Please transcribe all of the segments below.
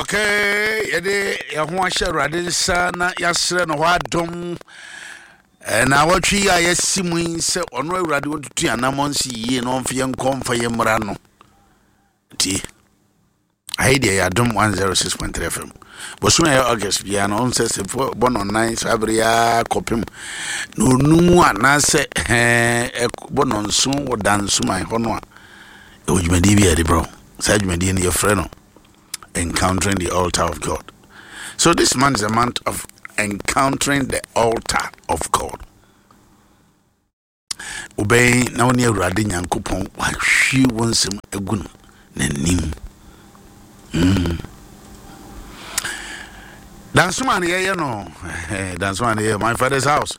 Okay, yɛde yɛn ho ahyɛ Awurade nsa na yɛasrɛ no hɔ adom. Na awɔtwe yi a yɛasi mu yi sɛ ɔno Awurade ɔntutu yɛn anammɔn nsi yie na ɔmfa yɛn nkɔ mfa yɛn mmra no. Nti, ayi deɛ yɛ adom 106.3 FM. Bosome a ɛyɛ August biara no, ɔn sɛ sɛ bɔ no nan saa bere yi ara kɔpem na onum anaasɛ ɛɛ bɔ no nson wɔ dansoman hɔ no a, ɛwɔ dwumadie bi a yɛde brɛ wo. Saa dwumadie no yɛfrɛ no Encountering the Altar of God. So this month is a month of encountering the altar of God. Wobɛn na wo ne Awurade Nyankopɔn wahwie wo nsɛm agu no n'anim. Mm. Dansoma no yɛyɛ no Dansoma no yɛyɛ My Father's House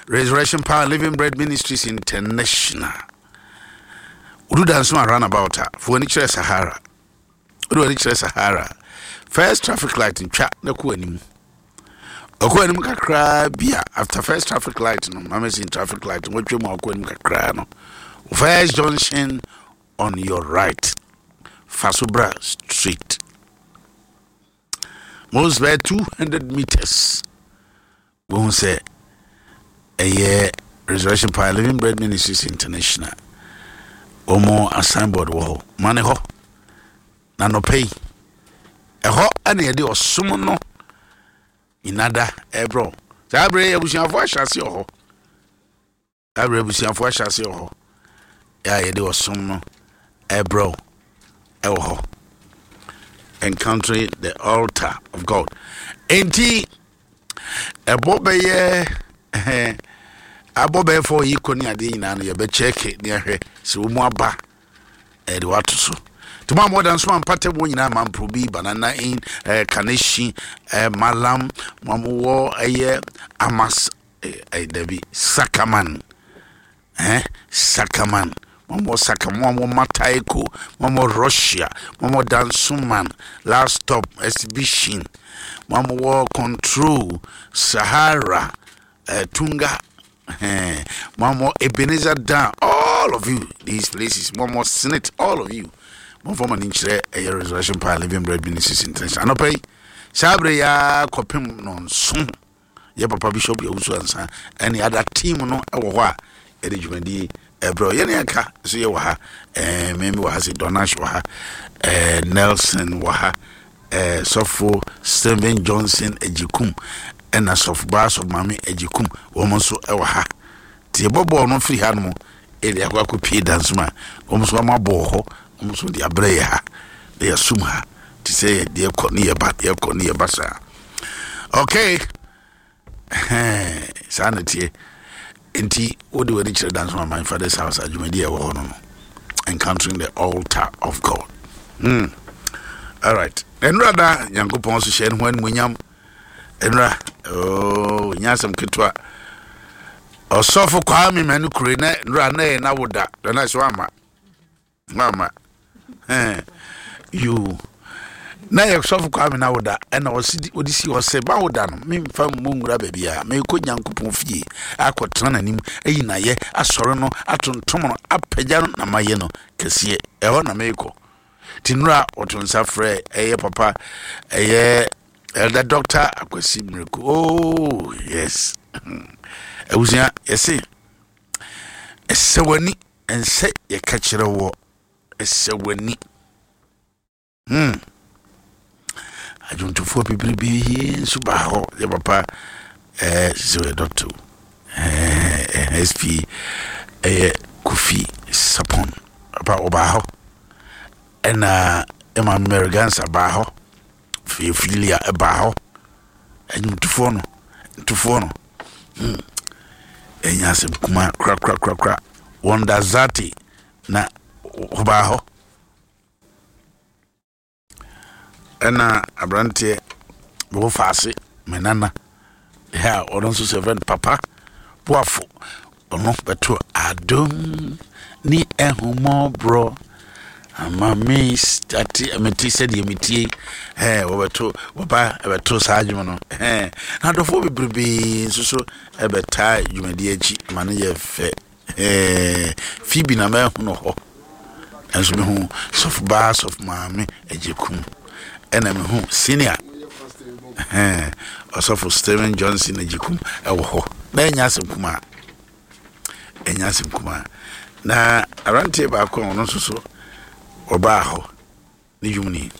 Resurrection Power Living Bread Ministries International. Wodu Dansoma runabout a, fo ani kyerɛ Sahara. Wode w'ani kyerɛ Sahara. First traffic light ntwa na kɔ anim. Ɔkɔ anim kakraa bi a after first traffic light no, mama sin traffic light wɔatwa mu akɔ anim kakraa no. First junction on your right. Fa so bra straight. Most bɛyɛ 200 meters. Wohu sɛ ɛyɛ Resurrection Power Living Bread Ministries International. Wɔn a signboard wɔ hɔ. Ma ne hɔ. Na nɔpɛ yi, ɛhɔ ɛna yɛde ɔsom no nyina da ɛbrɛ. Saa berɛ yi abusuafoɔ ahyɛ ase wɔ hɔ. Saa berɛ abusuafoɔ ahyɛ ase wɔ hɔ a yɛde ɔsom no ɛbrɛ wo ɛwɔ hɔ. Encountering the altar of God. Enti ɛbɔ bɛyɛ ɛhɛn abɔ bɛyɛ fɔ yi kɔ ne adeɛ nyinaa no yɛbɛkyɛke ne ahwɛ sɛ wɔn mu aba ɛde wato so. Nti mo a mo da nso ampata mu nyinaa mampro bi banana in ɛɛ kaneshi ɛɛ malam mo a mo wɔ ɛyɛ amas Eh, dabi, Sakaman. Eh, Sakaman. Momo Saka, momo Mataiko, momo Russia, momo Dansoman, Last Stop Exhibition, momo Control, Sahara, eh, Tunga, eh, momo Ebenezer Dan, all of you, these places, momo Senate, all of you. Momfa mo ani nkyerɛ ɛyɛ Resurrection Power Living Bread Ministries International. Anɔpa yi, saa berɛ yi ara kɔpem nɔnson. Yɛ papa Bishop Owusu Ansah ɛne ada team no wɔ hɔ a yɛde dwumadie ɛbrɛ yɛne ɛka nso yɛ wɔ ha ɛɛ mɛmi wɔ ha sɛ Donash wɔ ha ɛɛ Nelson wɔ ha ɛɛ sɔfo Stephen Johnson Ejikum ɛna sɔfo baa sɔfo maame Ejikum wɔn nso ɛwɔ ha te yɛbɔ bɔɔl no firi ha nom ɛde akɔ akɔ pie dansoma wɔn nso wɔn abɔ wɔ hɔ wɔn nso de abrɛ yɛ ha na yɛsum ha te sɛ yɛ deɛ kɔ ne yɛ ba deɛ kɔ ne yɛ ba saa. Okay. Saa na teɛ. Nti wode w'ani kyerɛ Danso my father's house adwumadi a ɛwɔ hɔ no no. Encountering the altar of God. All right. Ɛnura da Nyankopɔn so hyɛ ne ho animuonyam. Ɛnura oh nya asɛm ketewa. Ɔsɔfo Kwame Manu Kure na ɛnura na ɛyɛ na woda. Na so ama. Mama eh, you na yɛ sɔfo Kwame na woda ɛna ɔsi ɔde si hɔ sɛ bawoda no memfa mmɔ nwura baabi a mekɔ Nyankopɔn fie akɔtena n'anim ayi n'ayɛ asɔre no atontom no apagya no na mayɛ no kɛseɛ ɛhɔ na mekɔ nti nnora ɔto nsa frɛ ɛyɛ papa ɛyɛ Elder Doctor Akwasi Miracle oh yes abusua yɛse ɛsɛ w'ani Ɛnsɛ yɛka kyerɛ woɔ, ɛsɛ w'ani. Hmm. Adwomtofoɔ bebrebe nso baa hɔ. Yɛ papa ɛɛ sɛ ɔyɛ dɔkta o. Ɛɛ SP ɛyɛ Kofi Sapon. Papa ɔbaa hɔ. Ɛna ɛma Mary Gansa baa hɔ. Filia ɛbaa hɔ. Ɛnwomtofoɔ no, ntofoɔ no. Hmm. Ɛnyɛ asɛm kuma korakorakorakora. Wonder Zati na ɔbaa hɔ. Ɛna aberanteɛ bɛwɔ faase me nana. Yeah, ɔno nso sɛ fɛn papa boafo ɔno bɛto adom ne ahummɔborɔ ama me ate mete sɛdeɛ metie ɛɛ wɔbɛto wɔba ɛbɛto saa adwuma no ɛɛ na adɔfoɔ bebrebe nso so ɛbɛtaa dwumadie akyi ma no yɛ fɛ ɛɛ Phoebe na mɛhu no hɔ nso mehu sɔfo baa sɔfo maame agye kum. Ɛna mehu senior ɔsɔfo Stephen Johnson Agyekum ɛwɔ hɔ. Na ɛnyɛ asɛm kumaa. Ɛnyɛ asɛm kumaa. Na aberanteɛ baako a ɔno nso so ɔbaa hɔ ne dwom ni.